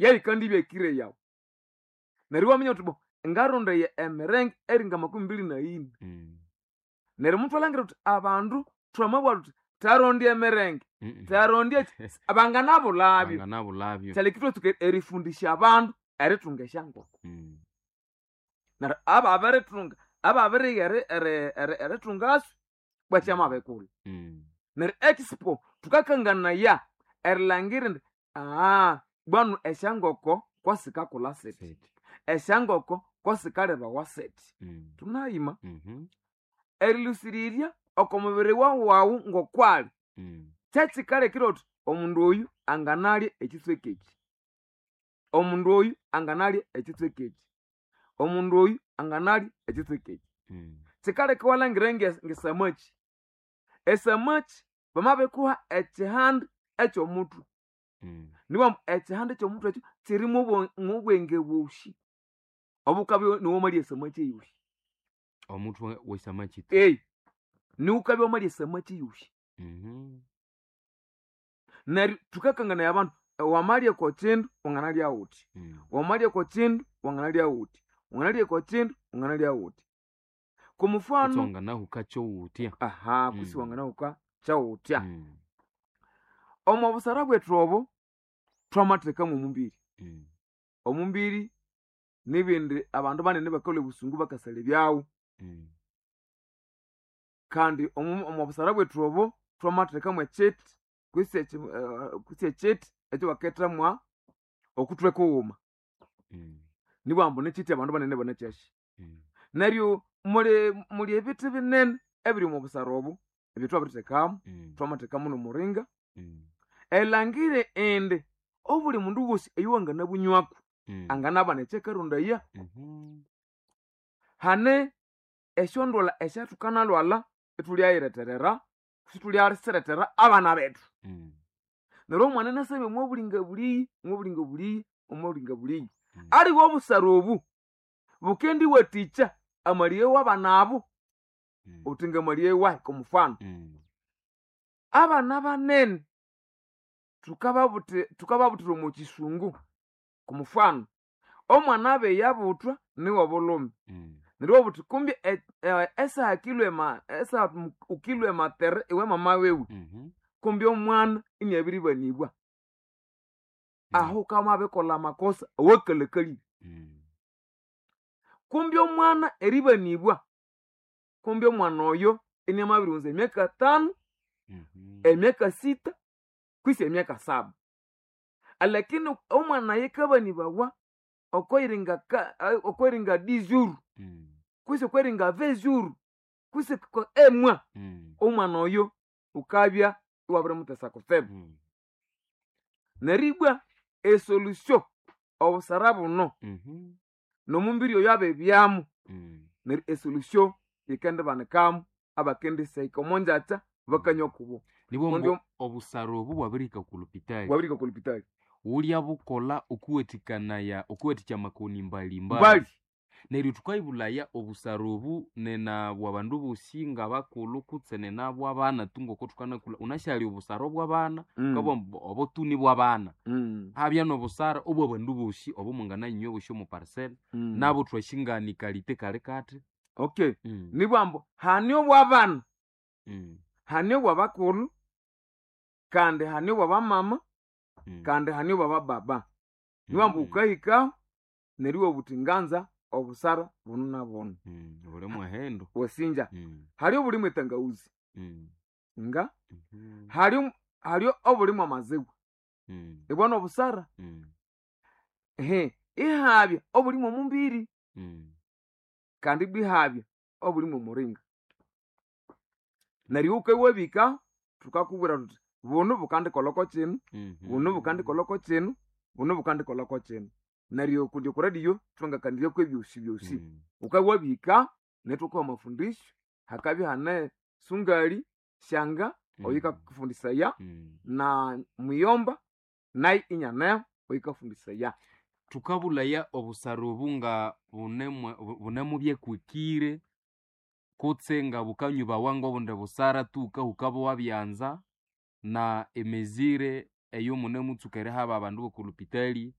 Yayikandibya ekiro yawu. Neryo iwaminya wuthi bo ngarondaya emirenge eringa 24. Neryo muthwalangira thuthi abandu twamabugha thuthi tharondya emirenge, tharondya eki, banganabulabyo. Banganabulabyo. Kyaleka ithwatsuka erifundisya abandu erithunga esyankoko. Neryo ababirithunga, ababirigha erithungasyo bwakyamabikulha. Neryo expo thukakanganaya erilangira indi bwanu esyankoko kwasikakulha sithi, Sithi. esyankoko kwasikalhebawa sithi. Thunayima erilhusirirya oko mubiri wawu ngokwali kyekikalekire wuthi omundu oyu anganalya ekitsweka eki, omundu oyu anganalya ekitsweka eki, omundu oyu anganalya ekitsweka eki. Kikaleka iwalhangira ngesamaki. Esamaki bamabikuha ekihandi ekyomuthwe, nibughambu ekihandi ekyomuthwe ekyo kyirimu obwenge bwosi obukabya niwamalya esamaki eyosi. Omuthwe wesamaki tu. Niwukabya wamalya esamaki eyosi. Neryo thukakanganaya abandu, wamalya oko kindu wanganalya wuthi, wamalya oko kindu wanganalya wuthi, wanganalya oko kindu wanganalya wuthi. Kumufano Kutse wanganahuka kyowuthya. Aha, kutse wanganahuka kyowuthya. Omo busara bwethu obo thwamathekamu omumbiri. Omumbiri nibindi abandu banene bakalhwa obusungu bakasalha ebyawu. Kandi omo busara bwethu obo thwamathekamu ekyiti kutse ekyiti ekyabakethamwa okuthwe kughuma. Nibughambu nikyiti abandu banene banakyasi. Neryo muli ebithi binene ebiri omo busara obu ebyethwabirithekamu, thwamathekamu nomuringa. Elangire indi obuli mundu wosi oyuwanganabunywako anganabana ekyakarondaya. Hane esyondwalha esyathukanalwalha ithulyayiretherera, sithulyasirethera abana bethu. Neryo omwana inasabya omwa bulinga buliyi, omwa bulinga buliyi, omwa bulinga buliyi. Aliwe obusara obu bukendiwathikya amalĩge w'abana abo, uthi ngamalĩge wahi kwamufano. Abana banene thukababuthira omo kisungu kwamufano, omwana abiyabuthwa niwobulhume. Neryo iwabugha wuthi kumbi esaha esaha wukilhwa ematere iwe mama wiwe, kumbi omwana iniabiribanibwa. Aho wukabya amakosa awakalhakalire. Kumbi omwana eribanibwa, kumbi omwana oyo iniamabirighunza emyaka 5, emyaka 6, kwisi emyaka 7. Alakini omwana ayikabanibawa okweringa 10 jours, kwisi okweringa 20 jours, kwisi emwa, omwana oyo wukabya iwabirimutesa kutsibu. Neryo ibwa esolution obusara buno nomumbiri oyo abibyamu, neryo esolution yikendibanikamu abakendisahika omo ngyakya bakanywa kubo. Nibwo Kundi mbu obusara obu bwabirihika oku lupitali. Bwabirihika oku lupitali. Wulya bukola okuwathikanaya okuwathikya amakoni mbali-mbali. Mbali. Neryo thukayibulaya obusara obu nena bwa bandu bosi ngabakulhu kutse nena bwabana tu ngoko thukanakulha. Wunasi obusara obwabana, wukabugha ambu obo tu nibwabana. Habya nobusara obwabandu bosi obumwangananywa bosi omo parcel, nabo thwasingani kalite kali kathi. Okay. Nibugha ambu hane obwabana, hane obwabakulhu, kandi hane obwabamama, kandi hane obwabababa. Nibugha ambu wukahikaho neryo iwabugha wuthi nganza obusara bunu na bunu. Buli muhendo. Wasinja. Hali obulimu etangawuzi. Nga hali obulimu amaziwa. Ibwa nobusara. Ihabya obulimu omumbiri. Kandi ibwa ihabya obulimu omuringa. Neryo wukawabika thukakubwira thuthi bunu bukandikolha kino, bunu bukandikolha kino, bunu bukandikolha kino. Neryo kundi oku radio thwangakaniryaku ebyosi byosi. Wukawabihika nethukuha amafundisyo, hakabya hane sungali, shanga oyukakufundisaya na muyomba nayo inyaneho oyukafundisaya. Thukabulaya obusara obu nga bunemubyekwikire kutse nga bukanyubawa ngobundi busara tu wukahuka bwabyanza na emezire eyomunemutsuka erihaba abandu b'oku lupitali.